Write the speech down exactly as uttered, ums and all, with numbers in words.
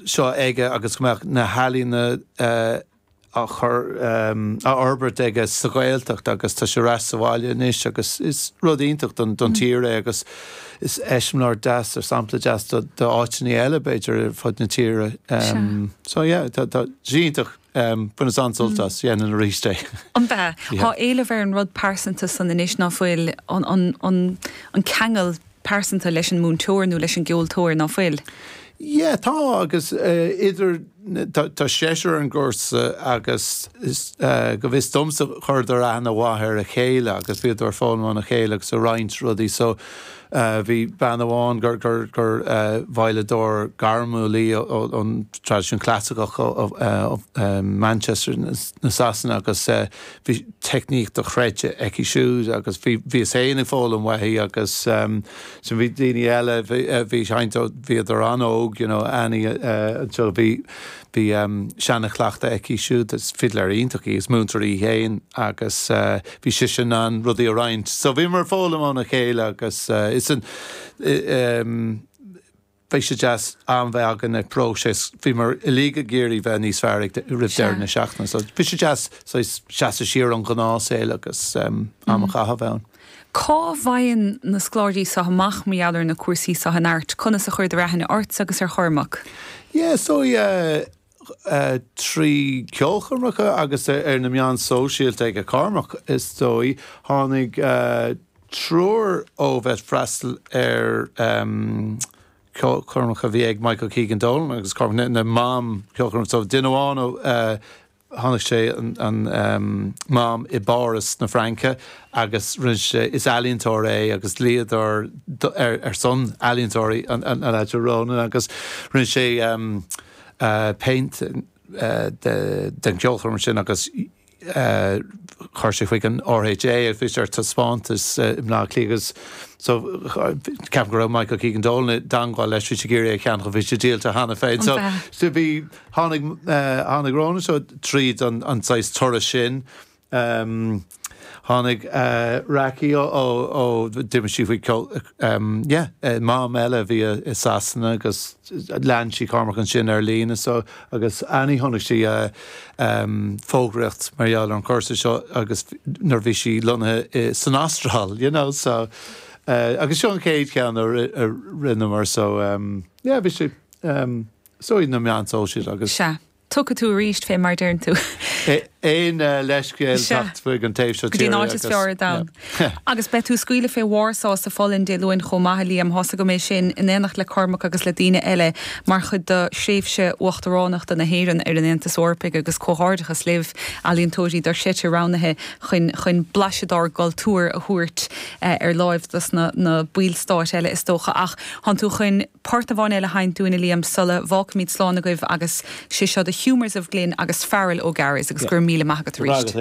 seo aige agus go mbeadh na healaíona uh, á chur um, á fhorbairt aige sa Ghaeltacht agus tá sé ar ais sa bhaile anois agus is rud iontach don, don mm. tír é agus is eiseamláir deas ar sampla deas do, do áiteanna eile b'fhéidir ar fud na tíre. Um, so yeah, tá tá iontach um, baineas an-sult as dhéanfainn arís é. An bea Tá éileamh ar an rud pearsanta san anois ná fuil an, an, an, an ceangal pearsanta leis an múinteoir nó leis an gceoltóir ná fuil. Yeah, tá agus uh, idir tá, tá seisear an gcúrsa agus is, uh, go bhfios domsa chuireadar aithne mhaith ar a chéile agus bhíodar ag foghlaim óna chéile agus ag roinnt rudaí so uh, bhí bean amháin gur gur gur uh, veidhleadóir gairmiúil í ón traidisiún clasaiceach ó uh, uh, Manchester na Sasana agus uh, bhí teicníc dochreidte aici siúd agus bhí bhíos féin ag foghlaim uaithi agus um, so bhí daoine eile bhí seinnte bhíodar an-óg you know, Annie uh, so bhí bhí um, seanchleachtadh aici siúd is fidléir iontach í is múinteoir í féin agus uh, bhí sí sin an rudaí a roinnt. So bhíomar ag foghlaim óna chéile agus uh, is an um, Bhí sé deas am bheith againn ag próiseas bhíomar uilig ag iarraidh bheith níos fearr roimh deireadh na seachtaine, so bhí sé deas seasamh siar ón ngnáthshaol agus um, am a chaitheamh ann. Cá bhfaigheann na scoláirí seo amach mar gheall ar na cúrsaí seo in Art, conas a chuireadar aithne ort agus ar Chormac? Yeah, so yeah, uh, trí ceolchoirmeacha agus ar na meáin sóisialta ag Cormac is dóigh tháinig uh, triúr ó bheith freastal ar um, ceolchoirmeacha bhí ag Michael Keegan Dolan agus Cormac na mam ceolchoirm so duine amháin ó uh, tháinig sé an, an um, mam i bPáras na Fraince agus rinne sé is ealaíontóir é agus dlíodóir ar, ar son ealaíontóirí an, an, an Ronan agus rinne sé um, uh, paint uh, de, den ceolchoirm sin agus uh, chuir sé chuig an RHA a bhí ar taispeántas uh, i mBleá Cliath agus so ceapaim go raibh Michael Keegan Dolan i dteagmháil leis bhí sé ag iarraidh é a cheannach bhí sé díolta cheana féin so so bhí tháinig uh, tháinig Ronan so tríd an, an saghas turas sin um, tháinig uh, Raki ó ó d'imigh sí faoi um, yeah, uh, mam eile bhí i Sasana agus lean sí Cormac ansin ar líne so agus Annie tháinig sí uh, um, fógraíocht mar gheall ar an chúrsa seo agus nuair bhí sí lonnaithe san Astráil, you know, so uh, agus seo an chéad cheann a rinneamar so um, yeah, bhí sé um, so na meáin sóisialta agus. Sea. Tiocfaidh tú arís fé mar deireann tú. Aon leithscéal chuig an taobh seo Go dtí áit is fearr ar domhan. Agus beidh tú ag scaoileadh fé Warsaw sa Pholainn Dé Luain chomh maith Liam thosa go mé sin in éineacht le Cormac agus le daoine eile mar chuid de thréimhse uachtaránachta na hÉireann ar an Aontas Eorpaigh agus comhghairdeachas libh ealaíontóirí dar sete roghnaithe chun chun blaiseadh dár gcultúr a thabhairt ar láimh dos na, na ballstáit eile is dócha ach tánn tú chun port amháin eile a sheinnt dúinn Liam sula bhfágfaimid slán agaibh agus sé seo The Humours of Glin agus Farrell O'Garris agus gur míle maith agat arís.